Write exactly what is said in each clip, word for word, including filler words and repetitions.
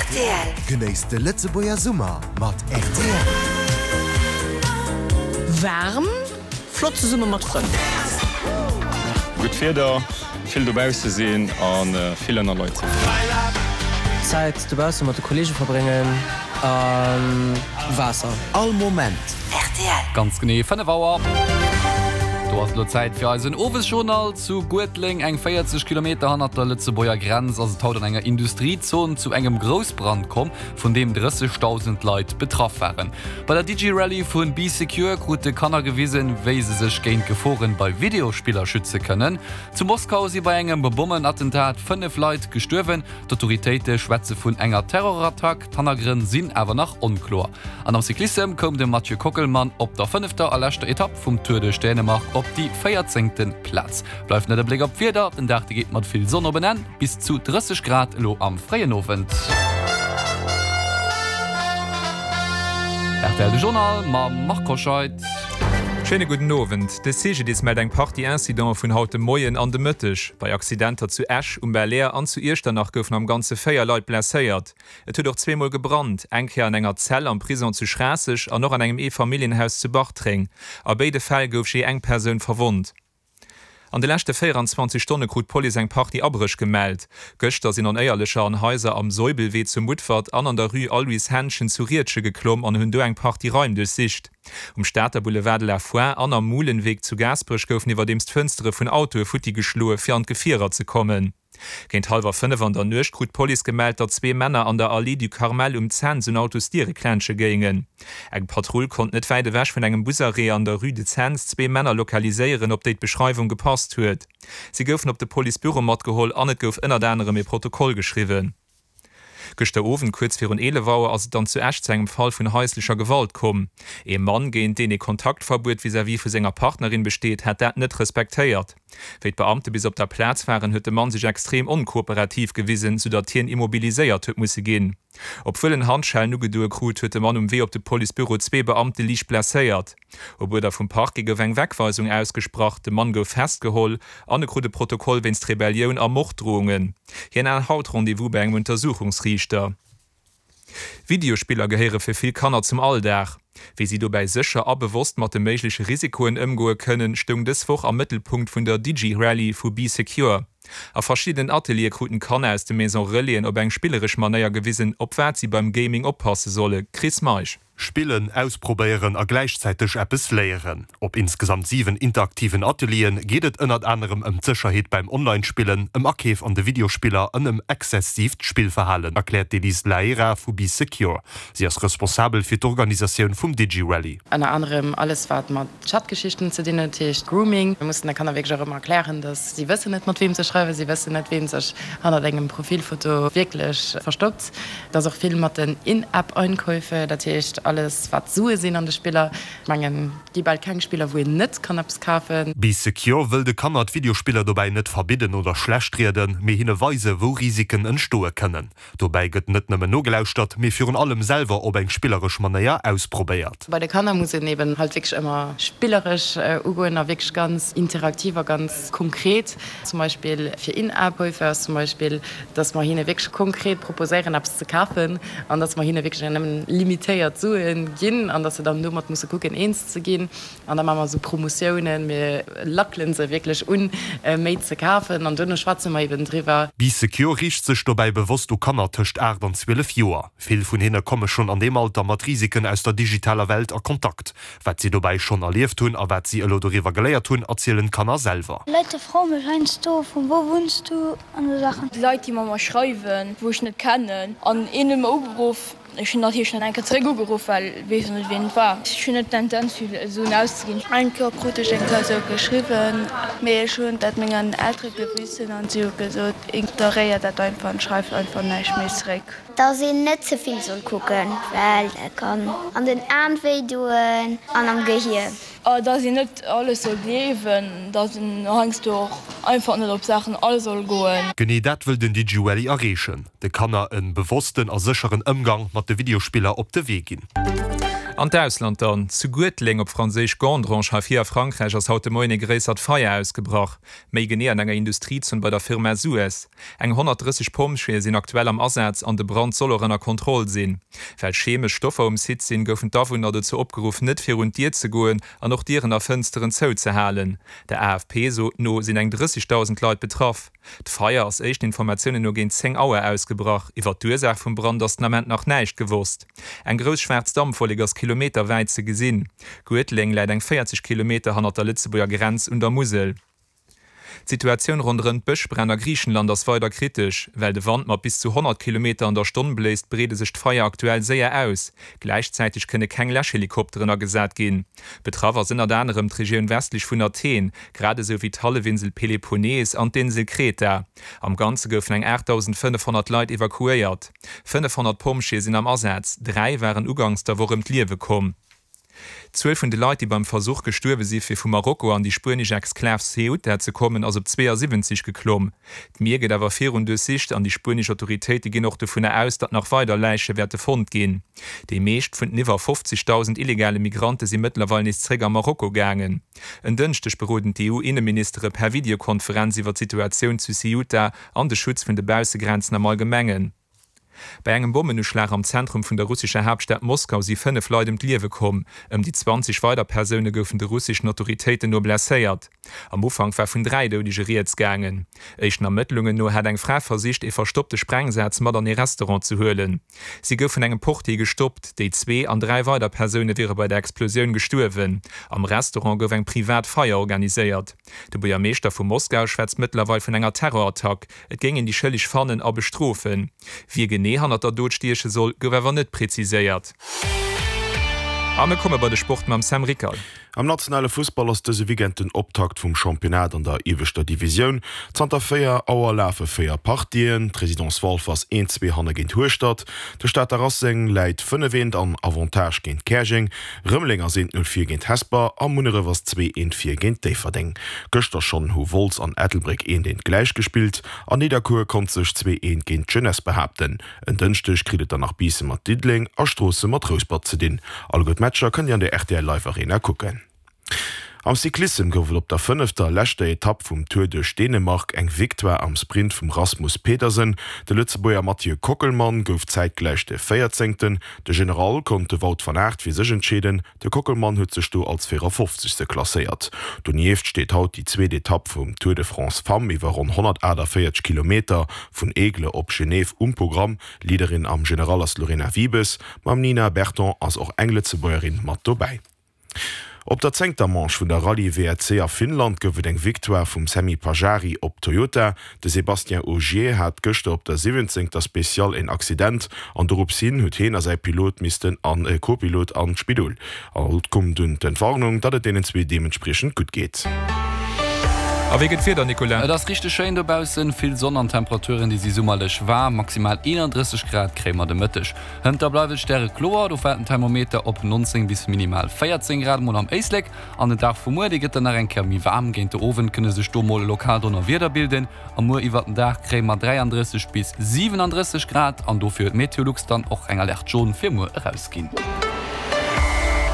Rtl. Genéisst de Lëtzebuerger Summer mat rtl. Waarm, flott zesumme mat Frënn. Gutt Wieder, vill dobausse sinn a vill ënner Leit sinn. Zäit dobausse mat de Kolleege verbréngen a Waasser. All Moment. Rtl. Ganz genee fënnef Auer. Do ass et elo Zäit fir eisen Owesjournal. Zu Guedleng, eng véierzeg Kilometer hannert der Lëtzebuerger Grenz, ass et haut an enger Industriezon zu engem Groussbrand komm, vun deem drëssegdausend Leit betraff waren. Bei der Digi-Rallye vu Bee Secure krute Kanner gewisen, wéi se sech géint Geforen bei Videospiller schütze kënnen. Zu Moskau si bei engem Bommenattentat fënnef Leit gestuerwen. D'Autoritéite schwätze vun enger Terrorattack, d'Hannergrënn sinn awer nach onkloer. An am Cyclissem koum de Mathieu Kockelmann op der fënnefter a leschter Etapp vum Tour duerch Dänemark op déi véierzéngte Plaz. Bleift net e Bléck op d'Wieder, Den Dag de geet mat vill Sonn op en Enn, bis zu drësseg Grad elo am fréien Owend. Rtl De Journal mam Marc Hoscheid. Schéine gudden Owend. De C G D I S mellt eng Partie Incidente vun haut de Moien an de Mëtteg. Bei Accidenter zu Esch, um Belair an zu Iechternach goufen am Ganze véier Leit blesséiert. Et huet och zweemol gebrannt, eng Kéier an enger Zell am Prison zu Schraasseg an och an engem Eefamilljenhaus zu Bartreng. A béide Fäll gouf jee eng Persoun verwonnt. An de leschte véieranzwanzeg Stonne krut d'Police eng Partie Abréch gemellt. Gëschter sinn Onéierlecher an Haiser am Soibelwee zu Mutfert an an der Rue Aloyse Henschen zu Riedgen geklomm an hunn do eng Partie Raim duerchsicht. Um Stater Boulevard de la Foire an am Muhlenweg zu Gaasperech goufen iwwerdeems d'Fënstere vun Autoe futti geschloe fir an d'Gefierer ze kommen. Géint hallwer fënnef an der Nuecht krut d'Police gemellt, datt zwee Männer an der Allée du Carmel um Cents un Autosdiere klensche géingen. Eng Patrull konnt net wäit ewech vun engem Busarrêt an der Rue de Cents zwee Männer lokaliséieren, op déi d'Beschreiwung gepasst huet. Si goufen op de Policebüro matgeholl an et gouf ënnert anerem ee Protokoll geschriwwen. Gëschter Owend kuerz virun eelef Auer ass et dann zu Esch zu engem Fall vun haislecher Gewalt komm. Ee Mann, géint deen ee Kontaktverbuet vis-à-vis vu senger Partnerin besteet, hätt dat net respektéiert. Wéi d'Beamte bis op der Plaz waren, huet de Mann sech extrem onkooperativ gewisen, soudatt hien immobiliséiert huet musse ginn. Obwuel en Handschellen ugedoe krut, huet de Mann um Wee op de Policebüro zwee Beamte liicht blesséiert. Op Uerder vum Parquet gouf eng Wegweisung ausgesprach, de Mann gouf festgeholl an e krut e Protokoll wéinst Rebellioun a Morddrohungen. Hien hat haut Rendez-vous bei engem Untersuchungsriichter. Videospiller gehéiere fir vill Kanner zum Alldag. Wéi si dobäi sécher a bewosst mat de méigleche Risikoen ëmgoe kënnen, stoung dës Woch am Mëttelpunkt vun der Digi-Rallye vu Bee Secure. A verschiddenen Ateliere kruten d'Kanner aus de Maison Relaisen op eng spilleresch Manéier gewisen, op wat si beim Gaming oppasse solle. Chris Meisch. Spillen, ausprobéieren a gläichzäiteg eppes léieren. Op insgesamt siwen interaktiven Atelieren geet et ënnert anerem ëm d'Sécherheet beim Online-Spillen, ëm Akeef an de Videospiller an ëm exzessiivt Spillverhalen, erkläert d'Elise Laera vu Bee Secure. Si ass responsabel fir d'Organisatioun vum Digi-Rallye. Ënner anerem alles wat mat Chatgeschichten ze dinn huet, heescht Grooming. Mir mussen de Kanner wierklech och ëmmer erklären, dass si wëssen net mat weem se schreiwen, si wëssen net ween sech hannert engem Profilfoto wierklech verstoppt. Et ass och vill mat den In-App-Einkäufe, dat heescht alles wat Sue sinn an de Spiller. Ech mengen, et gi bal keng Spiller wou een net kann eppes kafen. Bee Secure wëll de Kanner d'Videospiller dobäi net verbidden oder schlecht rieden, mee hinne weise wou Risiken entstoe kënnen. Dobäi gëtt net nëmmen nogelauschtert, mee virun allem selwer op eng spilleresch Manéier ausprobéiert. Bei de Kanner muss een eben halt wierklech ëmmer spilleresch ugoen a wierklech ganz interaktiv a ganz konkret. Zum Beispill fir In-App-Käufe ass zum Beispill, dass mer hinne wierklech konkret proposéieren eppes ze kafen an dass mer hinne wierklech nëmmen limitéiert Suen ginn an dass se dann domat musse kucken eens ze ginn. An da maache mer esou Promotiounen, mir lackele se wierklech un, méi ze kafen an duerno schwätze mer eben driwwer. Bee Secure riicht sech dobäi bewosst u Kanner tëscht aacht an zwielef Joer. Vill vun hinne komme schonn an deem Alter mat Risiken aus der digitaler Welt a Kontakt. Wat si dobäi schonn erlieft hunn a wat si elo doriwwer geléiert hunn, erzielen d'Kanner selwer. Leit froe mech heiansdo, Vun wou wunns du? an esou Saachen. Leit, déi mat mer schreiwen, wou ech net kennen, an een huet mer ugeruff. Ech hunn natierlech net eng Kéier zeréck ugeruff, well weess jo net wien et war. Ech hunn net d'Tendenz vill Suen auszeginn. Eng Kéier krut ech eng Kéier esou geschriwwen, mee ech hunn dat mengen Eltere gewissen an si hu gesot, ignoréier dat einfach an schreif einfach näischt méi zeréck. Dass een net ze vill soll kucken, well dat kann an den Aen wéi doen an am Gehier. Dass een net alles soll gleewen, dass een heiansdo och einfach net op Saachen all soll goen. Genee dat wëll den DigiWally erreechen, de Kanner e bewossten a sécheren Ëmgang mat de Videospiller op de Wee ginn. An d'Ausland dann, Zu Guertleng, op Franséisch Gandrange, hei vir a Frankräich ass haut de Moien e gréissert Feier ausgebrach. Méi genee an enger Industriezon bei der Firma Suez. Eng honnertdrësseg Pompjeeë sinn aktuell am Asaz an de Brand soll och ënner Kontroll sinn. Well chemesch Stoffer um Site sinn, goufen d'Awunner dozou opgeruff, net virun d'Dier ze goen an och Dieren a Fënsteren zouzehalen. Der A F P no sinn eng drëssegdausend Leit betraff. D'Feier ass éischten Informatiounen no géint zéng Auer ausgebrach. Iwwer d'Ursaach vum Brand ass den Ament nach näischt gewosst. Eng grouss schwaarz Dampwollek ass kilometerwäit ze gesinn. Guetleng läit eng véierzeg Kilometer hannert der Lëtzebuerger Grenz un der Musel. D'Situatioun ronderëm d'Bëschbränn a Griichenland ass weider kritesch. Well de Wand mat bis zu honnert Kilometer an der Stonn bléist, breede sech d'Feier aktuell séier aus. Gläichzäiteg kënne keng Läschhelikopteren agesat ginn. Betraff ass ënnert anerem d'Regioun westlech vun Athen, grad esou wéi d'Hallefinsel Peloponnes an d'Insel Kreta. Am Ganze goufen eng aachtdausendfënnefhonnert Leit evakuéiert. Fënnefhonnert Pompjeeë sinn am Asaz, dräi waren uganks der Woch ëm d'Liewe komm. D'Zuel vun de Leit, déi beim Versuch gestuerwe si fir vu Marokko an déi spuenesch Exklav Ceuta ze kommen, ass op zweeasiwwenzeg geklomm. D'Mier gëtt awer virun duerchsicht an déi spuenesch Autoritéite ginn och dovunner aus, datt nach weider Läiche wäerte fonnt ginn. Déi meescht vun den iwwer fofzegdausend illegale Migrante si mëttlerweil nees zeréck a Marokko gaangen. En Dënschdeg beroden d'EU-Inneministere per Videokonferenz iwwer d'Situatioun zu Ceuta an de Schutz vun de Baussegrenzen am Allgemengen. Bei engem Bommenuschlag am Zentrum vun der russescher Haaptstad Moskau si fënnef Leit ëm d'Liewe komm. Ëm déi zwanzeg weider Persoune goufen de russeschen Autoritéiten no blesséiert. Am Ufank war vun dräi Doudege rieds gaangen. Éischten Ermëttlungen no hat eng Fra versicht, ee verstoppte Sprengsaz mat an ee Restaurant ze huelen. Si gouf vun engem Portier gestoppt. Déi zwee an dräi weider Persoune wiere bei der Explosioun gestuerwen. Am Restaurant gouf eng privat Feier organiséiert. De Buergermeeschter vu Moskau schwätzt mëttlerweil vun enger Terrorattack. Et géing een déi Schëlleg fannen a bestrofen. Wie genee hannert der Dot stieche soll, gouf awer net präziséiert. A mir komme bei de Sport mam Sam Rickal. Am nationale Fussball ass dëse Weekend den Optakt vum Championnat an der ieweschter Divisioun. Zanter véier Auer lafe véier Partien, D'Residence Walfer ass eent zwee hanne géint Hueschtert, de Stater Racing läit fënnef eent an Avantage géint Käerjeng, Rëmeleng ass eent null vir géint Hesper a Munneref ass zwee eent vir géint Déifferdeng. Gëschter schonn hu Wolz an Ettelbréck eent eent gläich gespillt an Nidderkuer konnt sech zwee eent géint d'Jeunesse behaapten. En Dënschdeg kritt et dann nach Biissen mat Diddeleng a Stroossen mat Rouspert ze dinn. Alleguer d'Matcher kënnt Dir an der R T L Live Arena kucken. Am Cyclissem gouf et op der fënnefter a leschter Etapp vum Tour duerch Dänemark eng Victoire am Sprint vum Rasmus Pedersen. De Lëtzebuerger Mathieu Kockelmann gouf zäitgläich de Véierzéngten. De General konnt de Wout van Aert fir sech entscheeden, de Kockelmann huet sech do als Véierafofzegste klasséiert. Donieft steet haut déi zweet Etapp vum Tour de France Femmes iwwer ronn honnertaachtavéierzeg Kilometer vun Aigle op Genève um Programm. Leaderin am General ass d'Lorena Wiebes, mam Nina Berton ass och eng Lëtzebuergerin mat dobäi. Op der zéngter Manche vun der Rallye W R C a Finnland gouf et eng Victoire vum Sami Pajari op Toyota. De Sébastien Ogier hat gëschter op der siwwenzéngter Speciale en Accident an dorops hin huet hien a säi Pilot missten an Co-Pilot an d'Spidol. Haut koum dunn d'Entwarnung, datt et deenen zwee deementspriechend gutt geet. A wéi gëtt d'Wieder, Nicolas? Et ass richteg schéin dobaussen, vill Sonn an Temperaturen, déi si summerlech waarm, maximal eenandrësseg Grad kréie mer de Mëtteg. Hënter bleift et stärekloer, do fält den Thermometer op nonzéng bis minimal véierzéng Grad mol am Éislek. An den Dag vu muer, dee gëtt dann nach eng Kéier méi waarm, géint de Owend kënne sech do mol lokal Donnerwieder bilden. A muer iwwert den Dag kréie mer dräiandrësseg bis siwenandrësseg Grad an dofir huet Meteolux dann och eng Alerte jaune fir muer erausginn.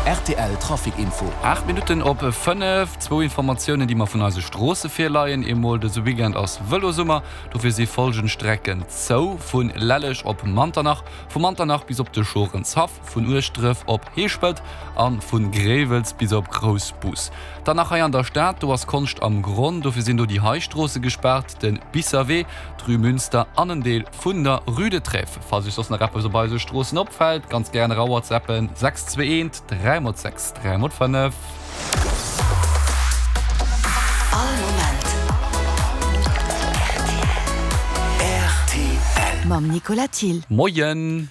R T L Trafic Info. Aacht Minutten op fënnef. Zwou Informatiounen, déi mer vun eise Stroosse virleien. Eemol, dëse Weekend ass Vëlosummer, dofir si follgend Strecken zou, Vu Lelleg op Manternach, vu Manternach bis op de Schorenshaff, vun Ueschdref op Heeschpelt a vu Gréiwels bis op Groussbus. Dann nach hei an der Stad, do ass Konscht am Gronn, dofir sinn do déi hei Stroosse gespaart, de Bisserwee, d'Rue Münster an en Deel vun der Rue de Trèves. Falls iech soss nach eppes op eise Stroossen opfält, ganz gären era whatsappen, sechs zwee eent dräi mol sechs dräi mol fënnef. All Moment R T L. Mam Nicolas Thill. Moien.